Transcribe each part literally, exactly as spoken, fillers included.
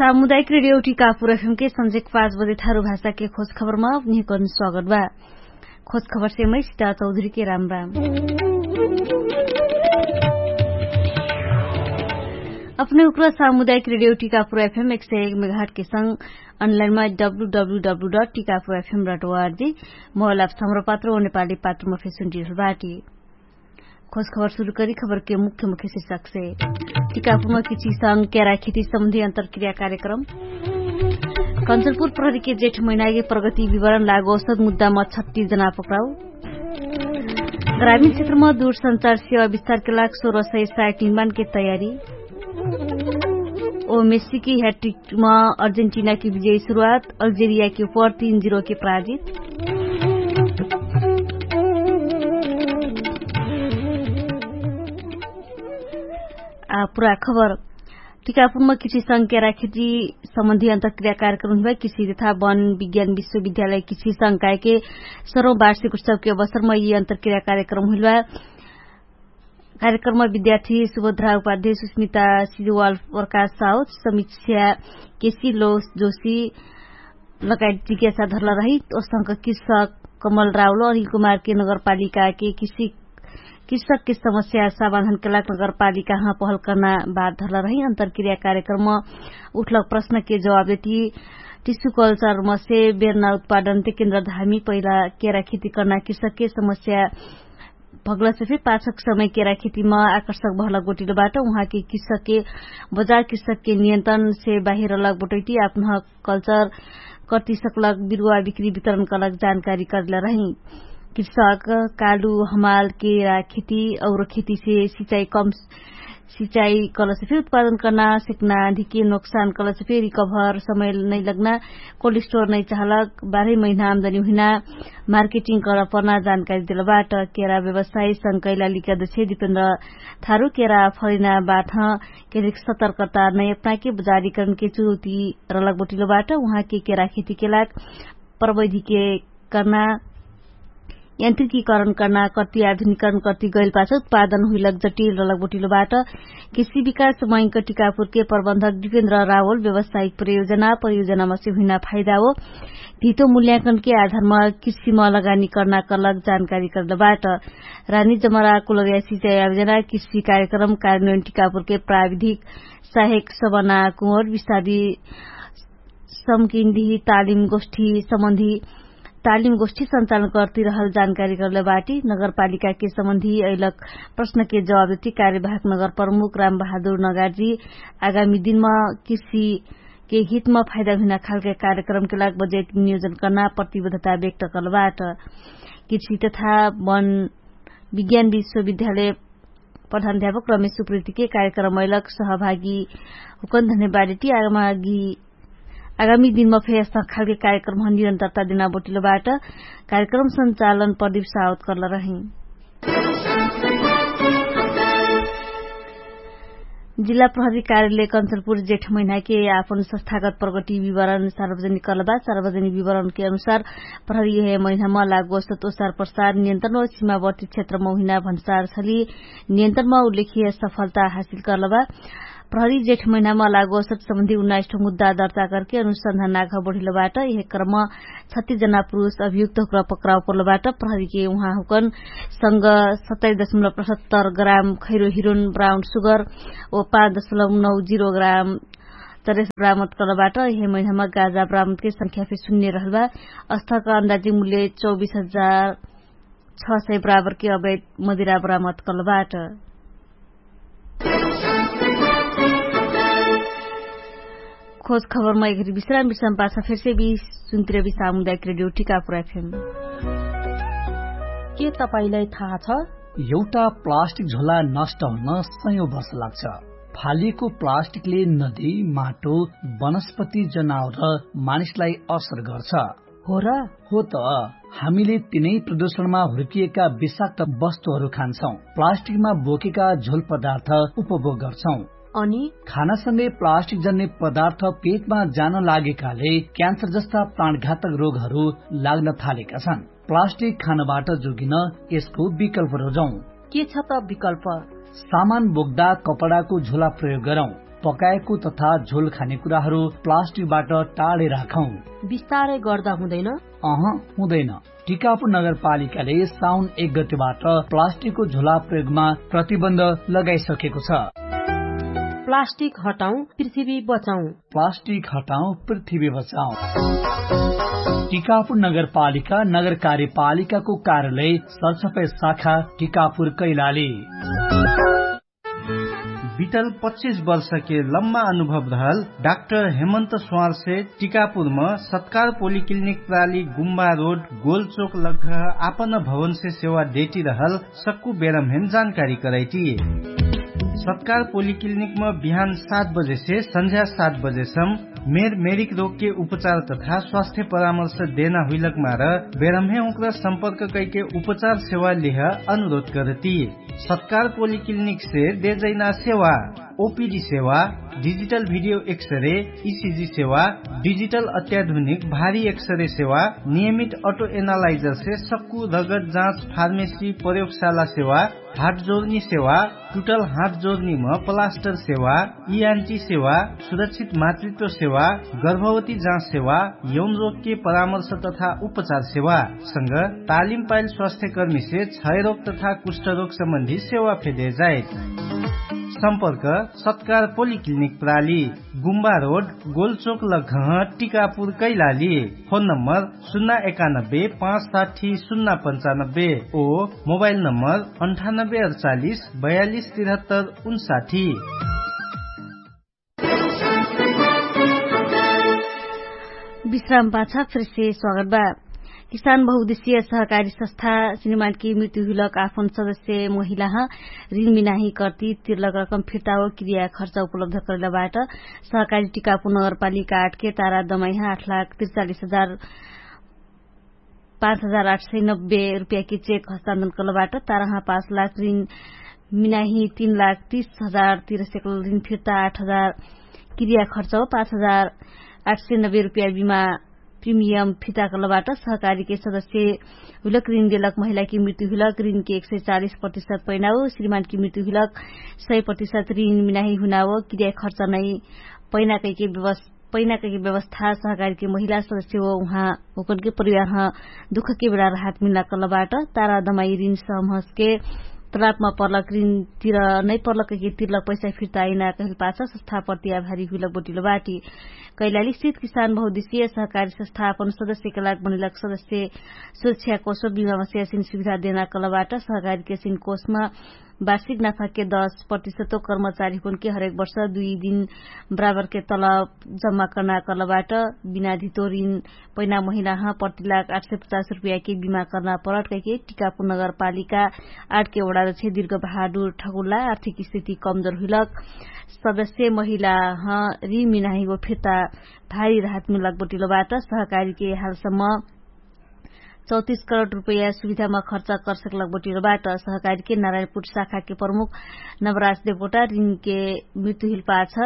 सामुदायिक रेडियो टिकापुर एफएम के संझेक पाँच बजे थारु भाषा के खोज खबरमा अपनिहकन स्वागत बा। खोज खबर से मै सिता चौधरी के राम राम। अपने उक्र सामुदायिक रेडियो टिकापुर एफएम एक सय एक मेघाट के संग अनलाइनमा W W W dot Tikapur FM dot ORG mobile app समर पात्र ओ नेपाली पात्रमा फेसुन डिहल बाटी। खोज खबर सुरु करी खबर के मुख्य मुख्य शिर्षक से। टिकापुरमा किछि संग केरा खेती सम्बन्धी अन्तरक्रिया कार्यक्रम। कन्चनपुर प्रहरी के जेठ महिना के प्रगति विवरण लागो औसत मुद्दामा छत्तीस जना पक्राउ। ग्रामीण क्षेत्रमा दूरसंचार सेवा विस्तार के लाग सोह्र सय साइट निर्माण के तयारी। ओ मेस्सी के ह्याट्रिक मा अर्जेन्टिना के विजय सुरुवात। अल्जेरिया के पर तीन जिरो के पराजित। आ पुरा खबर। टिकापुरमा किछि संग केरा खेती सम्बन्धी अन्तरक्रिया कार्यक्रम हुइबा किछि तथा वन विज्ञान विश्वविद्यालय किछि संग कायके सरौँ वार्षिक उत्सव के अवसरमा यि अन्तरक्रिया कार्यक्रम हुइबा। कार्यक्रममा विद्यार्थी सुभद्रा उपाध्याय सुस्मिता सिजवाल प्रकाश साउथ समीक्षा केसी लोस जोशी लगायत जिज्ञासा धरला रही। ओसंक कृषक कमल राउलो अनिल कुमार के नगरपालिका के कृषक के समस्या समाधान के लाग नगरपालिका हाँ पहल कर्ना बात धरला रही। अन्तरक्रिया कार्यक्रममा उठलक प्रश्न के जवाब देती टिसु कल्चर मसे बेर्ना उत्पादन ते केन्द्र धामी पहिला केरा खेती कर्ना कृषक के समस्या भगलसे फेर पाछक समय केरा खेतीमा आकर्षक भलक बोटिलो बाट उहाँके कृषकके बजार कृषकके नियन्त्रणसे बाहिर लग बोटैटी आपन कल्चर कर्तिसकलक बिरुवा बिक्री वितरणकलक जानकारी करले रही। कृषक कालु हमाल केरा खेती और खेतीसे सिचाई कम सिचाई कलसे फेर उत्पादन कर्ना सेक्ना धिके नोक्सान कलसे फेर रिकभर समय नैलग्ना कोल्ड स्टोर नै चाहलक बाह्रै महिना आमदनी हुइना मार्केटिङ करपर्ना जानकारी देलबाट। केरा व्यवसाय संकैला लिका दछे दिपेन्द्र थारु केरा फरिना बाथ केरिक सतर्कता नै अपनाके बजारीकरणके चुनौती रलक बोटिलोबाट उहाँके केरा खेतीके लाग प्रवैधिके कर्ना यन्त्रिकीकरण कर्ना कर्ति आधुनिकरण कर्ति गैल पाछ उत्पादन हुइलक जटिल रलक बोटिलोबाट। कृषि विकास मैंक टिकापुरके प्रबन्धक दिपेन्द्र रावल व्यवसायिक प्रयोजना प्रयोजनामा से हुइना फाइदा हो धितो मूल्याङ्कनके आधारमा कृषिमा लगानी कर्ना कर्लक जानकारी कर्दबाट। रानी जमरा कुलर्या सिचाइ आयोजना कृषि कार्यक्रम कार्यान्वयन टिकापुरके प्राविधिक सहायक सबना कुँवर विस्तारी समकिन्धी तालिम गोष्ठी सम्बन्धी तालिम गोष्ठी सञ्चालन कर्तिरहल जानकारी कर्ले बाटी। नगरपालिकाके सम्बन्धी अइलक प्रश्नके जवाब देती कार्यवाहक नगर प्रमुख राम बहादुर नगार्जी आगामी दिनमा कृषिके हितमा फाइदा हुइना खालके कार्यक्रमके लाग बजेट नियोजन कर्ना प्रतिबद्धता व्यक्त कर्लबाट। कृषि तथा वन विज्ञान विश्वविद्यालय प्रधान अध्यापक रमेश सुप्रितिके कार्यक्रम अइलक सहभागी हुकन धन्यवाद देती आगामी दिनमा फेर यस्ता खालके कार्यक्रम निरन्तरता देना बोटिलोबाट कार्यक्रम सञ्चालन प्रदीप सावत कर्ल रही। जिल्ला प्रहरी कार्यालय कन्चनपुर जेठ महिनाके आपन संस्थागत प्रगति विवरण सार्वजनिक कर्लबा। सार्वजनिक विवरणके अनुसार प्रहरी यहे महिनामा लागोस्त ओसार प्रसार नियन्त्रण व सीमावर्ती क्षेत्रमा हुइना भन्सार छली नियन्त्रणमा उल्लेखिय सफलता हासिल कर्लबा। प्रहरी जेठ महिनामा लागोस्त सम्बन्धी उन्नाइस ठो मुद्दा दर्ता करके अनुसन्धान नाघ बढिलोबाट यहे क्रम छत्तीस जना पुरुष अभियुक्त हुक्र पक्राउ पर्लबाट प्रहरीके उहाँ हुकन संग सत्ताइस दशमलव पचहत्तर ग्राम खैरो हिरोन ब्राउन सुगर ओ पाँच दशमलव नौ जिरो ग्राम चरेस बरामद कर्लबाट यहे महिनामा गाजा बरामदके संख्या फे सुन्ने रहलबा। अस्थाका अन्दाजी मुल्य चौबिस हजार छ सय बराबरके अवैध मदिरा बरामद कर्लबाट। खोज खबरमा एघरी विश्राम विश्राम पाछ फेरसे बि सुन्तिर बि सामुदायिक रेडियो टिकापुर एफएम। के तपाईंलाई थाहा छ? एउटा प्लास्टिक झोला नष्ट हुन सयौं वर्ष लाग्छ। फालिएको प्लास्टिकले नदी, माटो, वनस्पति, जनावर र मानिसलाई असर गर्छ। हो र? हो त। हामीले तिनै प्रदूषणमा हुर्किएका विषाक्त वस्तुहरू खान्छौं। प्लास्टिकमा बोकेका झोल पदार्थ उपभोग गर्छौं। अनि? खानासँगै प्लास्टिक जन्ने पदार्थ पेटमा जान लागेकाले क्यान्सर जस्ता प्राणघातक रोगहरू लाग्न थालेका छन्। प्लास्टिक खानबाट जोगिन यसको विकल्प रोजौं। के छ त विकल्प? सामान बोक्दा कपडाको झोला प्रयोग गरौं। पकाएको तथा झोल खाने कुराहरू प्लास्टिकबाट टाढे राखौं। विस्तारै गर्दा हुँदैन? अह, हुँदैन। टिकापुर नगरपालिकाले साउन एक गतिबाट प्लास्टिकको झोला प्रयोगमा प्रतिबन्ध लगाइसकेको छ। प्लास्टिक हटाउँ, पृथ्वी बचाउँ। प्लास्टिक हटाउँ, पृथ्वी बचाउँ। टिकापुर नगरपालिका नगर कार्यपालिकाको कार्यालय सरसफाइ शाखा टिकापुर कैलाली। बितल पच्चिस वर्षके लम्बा अनुभव रहल डाक्टर हेमन्त स्वारसे टिकापुरम सत्कार पोलिक्लिनिक प्राली गुम्बा रोड गोलचोक लग्घ आपन भवनसे सेवा डेटिरहल सक्कु बेरमहेन जानकारी करैटी। सत्कार पोलिक्लिनिकम बिहान सात बजेसे सन्झ्या सात बजेसम मेर मेरिक रोगके उपचार तथा स्वास्थ्य परामर्श देना हुइलक मार बेरमहे उक्र सम्पर्क कैके उपचार सेवा लिह अनुरोध करती। सत्कार पोलिक्लिनिकसे देजैना सेवा ओपिडी सेवा, डिजिटल भिडियो एक्सरे, इसिजी सेवा, डिजिटल अत्याधुनिक भारी एक्सरे सेवा, नियमित अटो एनालाइजरसे सक्कु रगत जाँच फार्मेसी प्रयोगशाला सेवा, हात जोर्नी सेवा, टुटल हात जोर्नीम प्लास्टर सेवा, इआन्टी सेवा, सुरक्षित मातृत्व सेवा, गर्भवती जाँच सेवा, यौनरोगके परामर्श तथा उपचार सेवा संग तालिम पाइल स्वास्थ्यकर्मीसे क्षयरोग तथा कुष्ठरोग सम्बन्धी सेवा फेदे जाइत। सम्पर्क सत्कार पोलिक्लिनिक प्राली गुम्बा रोड गोलचोक लग्घह टिकापुर कैलाली। फोन नम्बर सुन्ना एकानब्बे पाँच साठी सुन्ना पन्चानब्बे ओ मोबाइल नम्बर अन्ठानब्बे अडचालिस बयालिस तिरहत्तर उन्साठी। विश्राम पाछा फेरसे स्वागत बा। किसान बहुद्देश्य सहकारी संस्था श्रीमानकी मृत्यु हुइलक आफन सदस्य महिलाह ऋण मिनाही कर्ती तिरलक रकम फिर्ताओ क्रिया खर्च उपलब्ध करैलबाट सहकारी टिकापु नगरपालिका आठके तारा दमाइह आठ लाख तिरचालिस हजार पाँच हजार आठ सय नब्बे रुपियाँकी चेक हस्तान्तरण करलबाट ताराह पाँच लाख ऋण मिनाही तीन लाख तीस हजार तिर सेकल ऋण फिर्ता आठ हजार क्रिया खर्च हो पाँच हजार आठ सय नब्बे रुपियाँ बिमा प्रिमियम फिर्ता करलबाट सहकारीके सदस्य हुइलक ऋण देलक महिलाकी मृत्यु हुइलक ऋणके एक सय चालिस प्रतिशत पैनाओ श्रीमानकी मृत्यु हुइलक सय प्रतिशत ऋण मिनाही हुनाओ क्रिया खर्च नै पैना कैके व्यवस्था पैना कैके व्यवस्था सहकारीके महिला सदस्य हो उहाँ होकनके परिवारह दुखके बेला राहत मिल्ला करलबाट तारा दमाई ऋण समहसके तलापमा पर्लक ऋण तिर नै पर्लक कैके तिरलक पैसा फिर्ता आइना कहिल पाछ संस्था प्रति आभारी हुइलक बटिलो बाटी। कैलाली स्थित किसान बहुद्देश्य सहकारी संस्थापन सदस्यके लाग बनिलक सदस्य सुरक्षा कोष बिमा मस्यासिन सुविधा देना करलबाट सहकारीके सिन कोषमा वार्षिक नाफाके दस प्रतिशतो कर्मचारी हुकनके हरेक वर्ष दुई दिन बराबरके तलब जम्मा कर्ना करलबाट बिनाधितो ऋण पैना महिलाह प्रति लाख आठ सय पचास रुपियाँके बिमा कर्ना परट कैके टिकापुर नगरपालिका आठके वडारछे दिर्घ बहादुर ठगुल्ला आर्थिक स्थिति कमजोर हुइलक सदस्य महिलाह ऋण मिनाही वो फिर्ता भारी राहत मिलक बटिलोबाट सहकारीके हालसम्म चौतिस करोड रुपैया सुविधामा खर्च करसकलक बटिलोबाट सहकारीके नारायणपुर शाखाके प्रमुख नवराज देवकोटा ऋणके मृत्यु हिलपाछ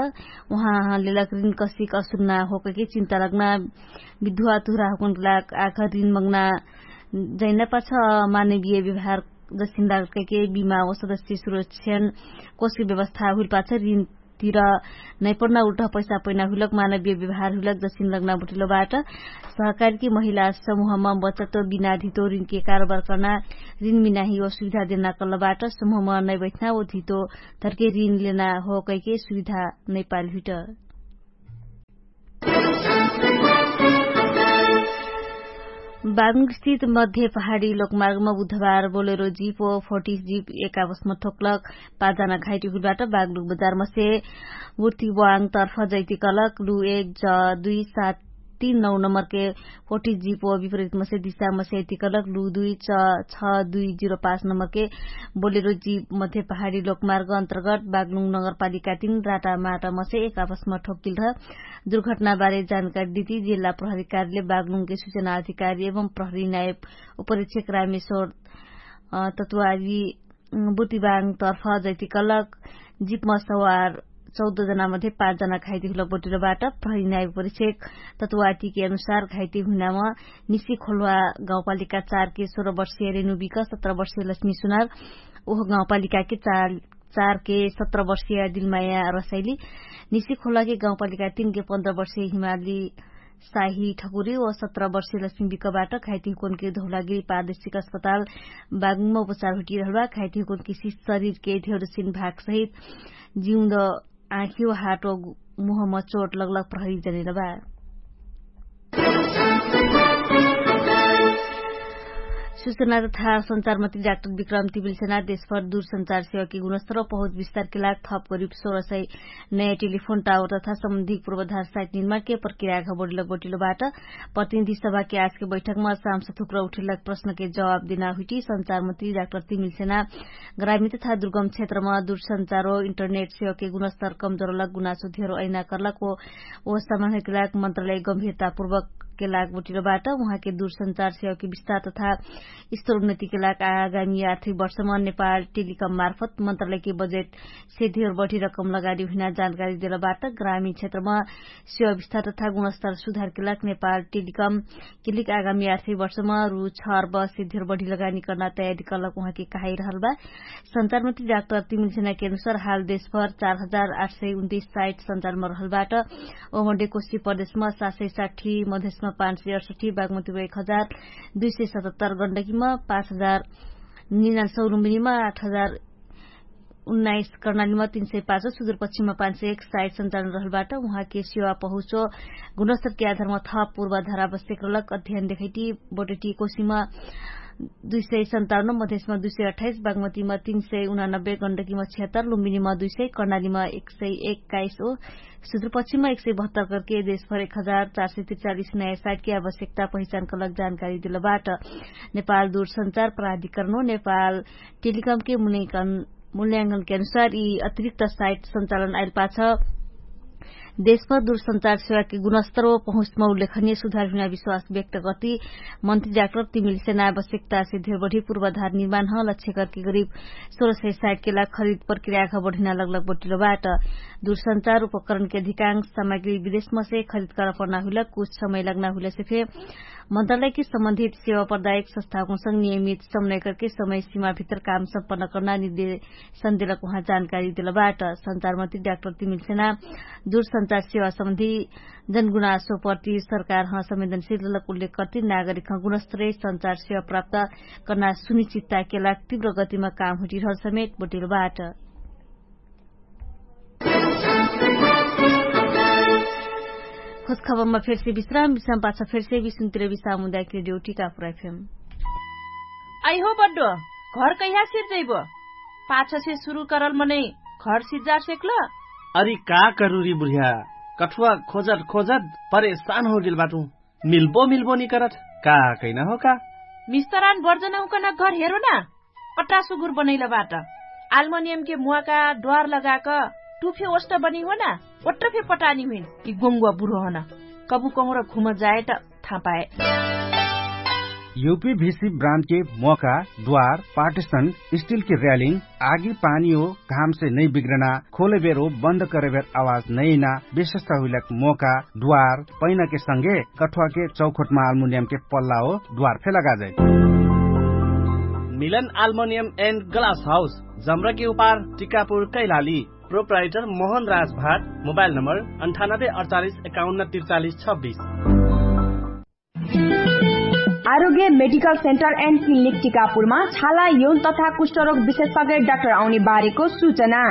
उहाँ लेलक ऋण कसिक असुन्ना होकके चिन्ता लग्ना विधुवा तुहरा हुकुनके लाग आखर ऋण मग्ना जैना पाछ मानवीय व्यवहार जसिन लागलकैके बिमा व सदस्य सुरक्षण कोषके व्यवस्था हुइलपाछ ऋण तिर नैपण्ना उल्टह पैसा पैना हुइलक मानवीय व्यवहार हुइलक जसिन लग्ना बटिलोबाट सहकारीके महिला समुहमा बचत बिना धितो ऋणके कारोबार कर्ना ऋण मिनाही व सुविधा देना कल्लबाट समुहमा नैबैठना व धितो धर्के ऋण लेना हो कैके सुविधा नैपाल हुइट। बागमुगस्थित मध्य पहाडी लोकमार्गमा बुधबार बोलेरो जिप व फोटिस जिप एकावसमा ठोक्लक पाँचजना घाइटी हुइलबाट बागलुक बजारमसे बुर्तिवाङ तर्फ जैतिकलक लु एक ज दुई सात तीन नौ नम्बरके फोटिस जिप व विपरितमसे दिशामसे जैतिकलक लु दुई च छ दुई जिरो पाँच नम्बरके बोलेरो जिप मध्य पहाडी लोकमार्ग अन्तर्गत बागलुङ नगरपालिका तीन राटामाटमसे एकावसमा ठोक्किल्ध दुर्घटनाबारे जानकारी दिती जिल्ला प्रहरी कार्यालय बागलुङके सुचना अधिकारी एवं प्रहरी नायब उपरीक्षक रामेश्वर तत्वारी बुतिबाङ तर्फ जैतिकलक जिपमा सवार चौध जनामध्ये पाँच जना घाइते हुलक बटिलोबाट प्रहरी नायब उपरीक्षक तत्वातीके अनुसार घाइते हुनामा निसी खोलवा गाउँपालिका चारके सोह्र वर्षीय रेणुबिक सत्र वर्षीय लक्ष्मी सुनार उह गाउँपालिकाके चार चारके सत्र वर्षिया दिलमाया रसैली निसी खोलाके गाउँपालिका तीनके पन्ध्र वर्षिया हिमाली साही ठकुरी व सत्र वर्षिया लक्ष्मी बिकबाट घाइतिहुकोनके धौलागिरी पारदेशिक अस्पताल बागुङमा उपचार हुटिरहलबा। घाइतिहुकोनके सिस शरीरके धेरोसिन भागसहित जिउँद आँखियो हाटो मुहमा चोट लगलग प्रहरी जनेलबा। सुचना तथा सञ्चारमन्त्री डाक्टर विक्रम तिबिलसेना देशभर दुरसञ्चार सेवाके गुणस्तर पहुँच विस्तारके लाग थप करिब सोह्र सय नयाँ टेलिफोन टावर तथा सम्बन्धिक पूर्वधार साइट निर्माणके प्रक्रियाघ बढिलक बटिलोबाट। प्रतिनिधि सभाके आजके बैठकमा सामसुथुक्र उठिलक प्रश्नके जवाब देना हुइटी सञ्चारमन्त्री डाक्टर तिबिलसेना ग्रामिण तथा दुर्गम क्षेत्रमा दुरसञ्चारो इन्टरनेट सेवाके गुणस्तर कमजोरलक गुनासो धेरो अइना कर्लक ओ समानके लाग मन्त्रालय गम्भिरतापूर्वकके लाग बटिलोबाट। उहाँके दुरसञ्चार सेवाके विस्तार तथा स्तरोन्नतिके लाग आगामी आर्थिक वर्षमा नेपाल टेलिकम मार्फत मन्त्रालयके बजेट सेधियर बढी रकम लगानी हुइना जानकारी देलबाट। ग्रामिण क्षेत्रमा सेवा विस्तार तथा गुणस्तर सुधारके लाग नेपाल टेलिकम किलिक आगामी आर्थिक वर्षमा रु छ अर्ब सेधियर बढी लगानी कर्ना तयारी कर्लक उहाँके कहाइरहलबा। सञ्चारमन्त्री डाक्टर तिमिलसेनाके अनुसार हाल देशभर चार हजार आठ सय उन्तिस साइट सञ्चालमा रहलबाट ओमडे कोशी प्रदेशमा सात सय साठी मधेशमा पाँच सय अठसठी बागमतीमा एक हजार दुई सय सतहत्तर गण्डकीमा पाँच हजार निनाल सौरुम्बिनीमा आठ हजार उन्नाइस कर्णालीमा तीन सय पाँच सुदूरपश्चिममा पाँच सय एक साइट सञ्चालन रहलबाट उहाँके सेवा पहुँचो गुणस्तरके आधारमा थप पूर्वाधार आवश्यक रहलक अध्ययन देखैटी बोटेटी कोशीमा दुई सय सन्ताउन्न मधेशमा दुई सय अठाइस बागमतीमा तीन सय उनानब्बे गण्डकीमा छिहत्तर लुम्बिनीमा दुई सय कर्णालीमा एक सय एक्काइस ओ सुदूरपश्चिममा एक सय बहत्तर करके देशभर एक हजार चार सय त्रिचालिस नयाँ साइटके आवश्यकता पहिचान कलक जानकारी दिलबाट। नेपाल दूरसञ्चार प्राधिकरण नेपाल टेलिकमके मूल्याङ्कनके अनुसार यी अतिरिक्त साइट सञ्चालन आइल पाछ देशभर दूरसञ्चार सेवाके गुणस्तर व पहुँचमा उल्लेखनीय सुधार हुना विश्वास व्यक्त गर्ती मन्त्री डाक्टर तिमिल सेना आवश्यकता से धेर बढी पूर्वाधार निर्माण ह लक्ष्य करके करिब सोह्र सय साइटके लाग खरिद प्रक्रियाका बढिना लगलग बटिलोबाट। दूरसञ्चार उपकरणके अधिकांश सामग्री विदेशमा से खरिद करपर्ना हुइला कुछ समय लगना हुइला से फे मन्त्रालयके सम्बन्धित सेवा प्रदायक संस्थाकोसँग नियमित समन्वय करके समय सीमा भित्र काम सम्पन्न कर्ना निर्देशन देलक उहाँ जानकारी देलबाट। सञ्चारमन्त्री डाक्टर तिमिल सेना दूरसञ्चार सेवा सम्बन्धी जनगुनासो प्रति सरकार ह संवेदनशील लक उल्लेख करती नागरिक ह गुणस्तरीय सञ्चार सेवा प्राप्त कर्ना सुनिश्चितताके लाग तीव्र गतिमा काम हुटिरहल समेत बोटिलोबाट। खोज खबरमा फेरसे विश्राम विश्राम पाछ फेरसे विश्राम तिर विश्राम हुँदा एक रेडियो टिका पुराइ फेम। आइहो बड्डो, घर कैहा सिर्जैबो? पाछसे सुरु करल मनै घर सिर्जा सेक्ल? अरि का करुरी बुढिया, कठुवा खोजत खोजत परेशान होगेल बाटु। मिल्बो मिल्बो निकरत का? कैना हो का? मिस्तरान बर्जनहुकन घर हेरो ना, पट्टा सुगुर बनैल बाट। आल्मनियमके मुवाका द्वार लगाक टुफे ओष्ट बनी हो ना, ओट्ट फे पटानी हुइन। कि गोङ्गुवा बुरो हन कबु कहुँर घुम जाए त थाहा पाए। युपी भिसी ब्रान्डके मोका, द्वार, पार्टिसन, स्टिलके र्यालिङ, आगी पानी हो घामसे नै बिग्रना, खोले बेर हो बन्द करे बेर आवाज नैना, विशेषता हुइलक मोका, द्वार, पैनाके संगे कठुवाके चौखोटमा आल्मुनियमके पल्ला हो द्वार फे लगा जाइत। मिलन आल्मुनियम एन्ड ग्लास हाउस, जम्रकी उपार, टिकापुर, कैलाली। प्रोप्राइटर मोहन राज भाट। मोबाइल नम्बर अन्ठानब्बे अडचालिस एकाउन्न त्रिचालिस छब्बिस। आरोग्य मेडिकल सेन्टर एन्ड क्लिनिक टिकापुरमा छाला यौन तथा कुष्ठरोग विशेषज्ञ डाक्टर आउने बारेको सूचना।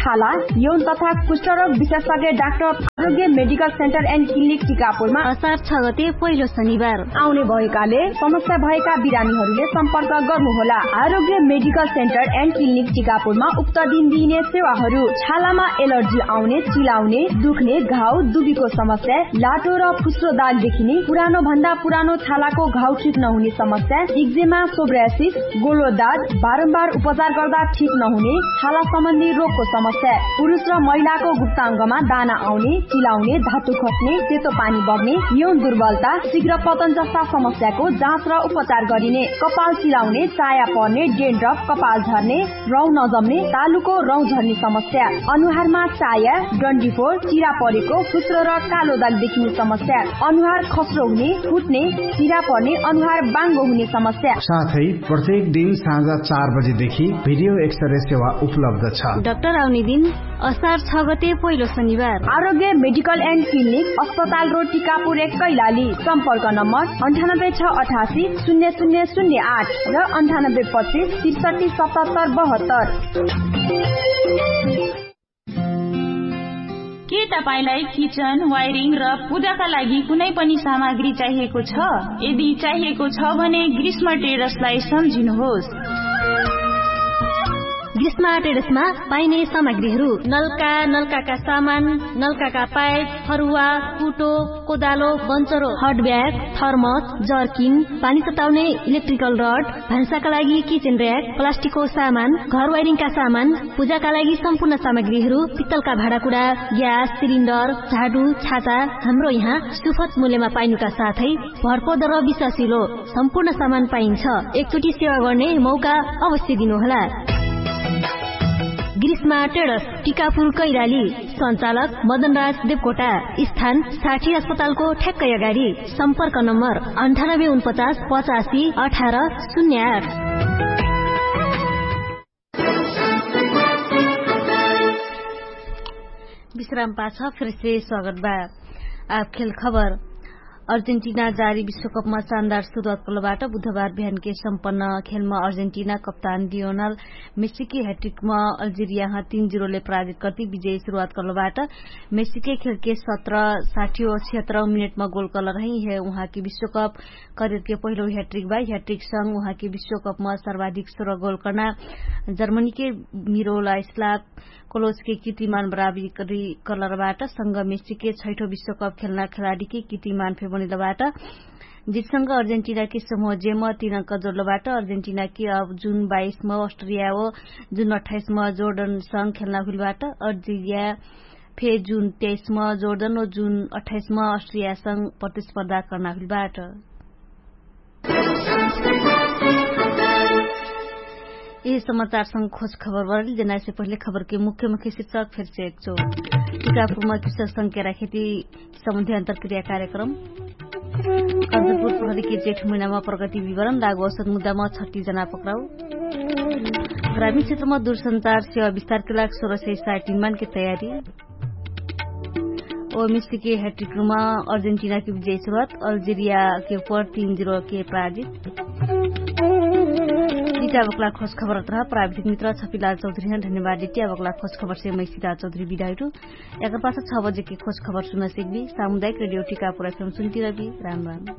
छाला यौन तथा कुष्ठरोग विशेषज्ञ डाक्टर आरोग्य मेडिकल सेन्टर एन्ड क्लिनिक टिकापुरमा असार छ गते पहिलो शनिबार आउने भएकाले समस्या भएका बिरामीहरूले सम्पर्क गर्नुहोला। आरोग्य मेडिकल सेन्टर एन्ड क्लिनिक टिकापुरमा उक्त दिन दिइने सेवाहरू छालामा एलर्जी आउने, चिलाउने, दुख्ने, घाउ, दुबीको समस्या, लाटो र फुस्रो दाग देखिने, पुरानो भन्दा पुरानो छालाको घाउ ठिक नहुने समस्या, इक्जेमा, सोब्रासिस, गोलो दाग, बारम्बार उपचार गर्दा ठिक नहुने छाला सम्बन्धी रोगको समस्या, पुरुष र महिलाको गुप्ताङ्गमा दाना आउने, चिलाउने धातु खट्ने सेतो पानी बग्ने यौन दुर्बलता शीघ्र पतन जस्ता समस्याको जाँच र उपचार गरिने कपाल चिलाउने चाया पर्ने डेन्ड्रप कपाल झर्ने रौँ नजम्ने तालुको रौँ झर्ने समस्या अनुहारमा चाया डन्डीफोर चिरा परेको फुस्रो र कालो दाग देखिने समस्या अनुहार खस्रो हुने फुट्ने चिरा पर्ने अनुहार बाङ्गो हुने समस्या। साथै प्रत्येक दिन साँझा चार बजेदेखि भिडियो एक्सरे सेवा उपलब्ध छ। डाक्टर आउने दिन असार छ गते पहिलो शनिबार। आरोग्य मेडिकल एन्ड क्लिनिक अस्पताल रोड टिकापुर एक कैलाली। सम्पर्क नम्बर अन्ठानब्बे छ अठासी शून्य शून्य शून्य आठ र अन्ठानब्बे पच्चिस त्रिसठी सतहत्तर बहत्तर। के तपाईंलाई किचन वायरिङ र पूजाका लागि कुनै पनि सामग्री चाहिएको छ? यदि चाहिएको छ भने ग्रीष्म ट्रेडर्सलाई सम्झिनुहोस्। ग्रीष्म ट्रेडर्समा पाइने सामग्रीहरू नलका नलकाका सामान, नलकाका पाइप, फरुवा, कुटो, कोदालो, बन्चरो, हट ब्याग, थर्मस, जर्किन, पानी तताउने इलेक्ट्रिकल रड, भान्साका लागि किचन र्याक, प्लास्टिकको सामान, घर वायरिङका सामान, पूजाका लागि सम्पूर्ण सामग्रीहरू, पित्तलका भाँडाकुडा, ग्यास सिलिन्डर, झाडु, छाता, हाम्रो यहाँ सुफत मूल्यमा पाइनुका साथै भरपर्दो र विश्वासिलो सम्पूर्ण सामान पाइन्छ। एकचोटि सेवा गर्ने मौका अवश्य दिनुहोला। ग्रीष्मा ट्रेडर्स, टिकापुर कैलाली। सञ्चालक मदनराज देवकोटा। स्थान साठी अस्पतालको ठ्याक्कै अगाडि। सम्पर्क नम्बर अन्ठानब्बे उनपचास पचासी अठार शून्य आठ। विश्राम पाछ फेरसे स्वागत बा। आब खेल खबर। अर्जेन्टिना जारी विश्वकपमा शानदार सुरुवात कलबाट बुधबार बिहानके सम्पन्न खेलमा अर्जेन्टिना कप्तान लियोनल मेस्सीके ह्याट्रिकमा अल्जेरियाह तीन जिरोले पराजित कर्ति विजय सुरुवात कलबाट मेस्सीके खेलके सत्र साठी व छिहत्तर मिनेटमा गोल कलर है। यह उहाँके विश्वकप करियरके पहिलो ह्याट्रिक बा। ह्याट्रिक संग उहाँके विश्वकपमा सर्वाधिक सोह्र गोल कर्ना जर्मनीके मिरोला स्लाप कोलोचके कितिमान बराबरी कलरबाट संग मेस्सीके छैठो विश्वकप खेल्ना खेलाडीके कितिमान फेबनिलबाट। जितसँग अर्जेन्टिनाके समूह जेम तीन अङ्क जोडलबाट अर्जेन्टिनाके अब जुन बाइसम अस्ट्रेलिया हो जुन अठाइसम जोर्डनसँग खेल्ना हुइलबाट अर्जेलिया फे जुन तेइसम जोर्डन हो जुन अठाइसम अस्ट्रेलियासँग प्रतिस्पर्धा कर्ना हुइलबाट। यही समाचारसँग खोज खबर बढल जेनाइसे पहिले खबरके मुख्य मुख्य शिक्षक फेरसे एकचो टिकापुरमा कृषक संख्या राखेती सम्बन्धी अन्तरक्रिया कार्यक्रम। कञ्चनपुर प्रहरीके जेठ महिनामा प्रगति विवरण लागु औसत मुद्दामा छट्टी जना पक्राउ। ग्रामीण क्षेत्रमा दूरसञ्चार सेवा विस्तारके लाग सोह्र सय साइटिनमानके तयारी। ओ मिस्टिके ह्याट्रिकमा अर्जेन्टिनाके विजय सुरुवात अल्जेरियाके उपर तीन जिरोके पराजित। इटाबकला खोज खबर अत्र प्राविधिक मित्र छपिलाल चौधरी हन धन्यवाद इटाबकला खोज खबर से मैसिलाल चौधरी बिदाइटु। एकर पास छ बजेके खोज खबर सुन सिकबी सामुदायिक रेडियो टिकापुर एफएम सुन्तिरबी। राम राम।